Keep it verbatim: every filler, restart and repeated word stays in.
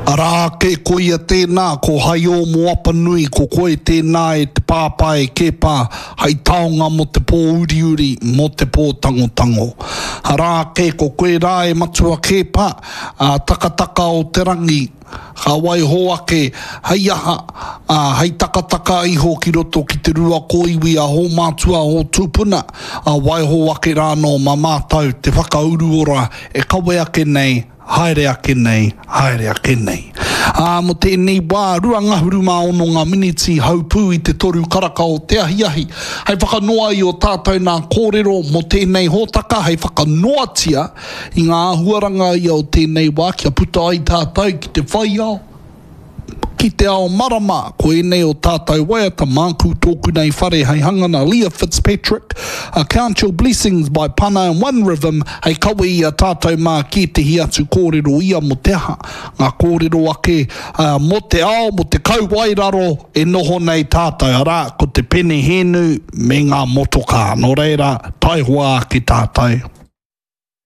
Arā ake ko ia tēnā, ko Haiō mō Apanui, ko koe tēnā e te pāpā e Kepa, hai taonga mō te pō uriuri, mō te pō tangotango. Arā ake ko koe rā e Matua Kepa, a takataka o te rangi, ka waiho ake hei aha, ā, hei takataka iho ki roto ki te rua kōiwi a hō mātua, hō tūpuna, ā, waiho ake rānō mā mātou te whakauruora e kawe ake nei, haere ake nei, haere ake nei. Ā, mō tēnei wā, rua ngahuru mā ono ngā miniti haupū i te toru karaka o te ahiahi, hei whakanoa i ō tātou nā kōrero mō tēnei hōtaka, hei whakanoatia i ngā āhuaranga ia o tēnei wā kia puta ai tātou ki te whai ao, ki te ao marama, ko ēnei o tātou waiata māku tōku nei whare hei hanga nā Leah Fitzpatrick, a Count Your Blessings by Pana and One Rhythm hei kawe i a tātou mā ki ētehi atu kōrero ia mō te aha, ngā kōrero ake mō te ao, mō te kauwaeraro e noho nei tātou, arā, ko te penehēnu me ngā motokā. Nō reira, taihoa ake tātou.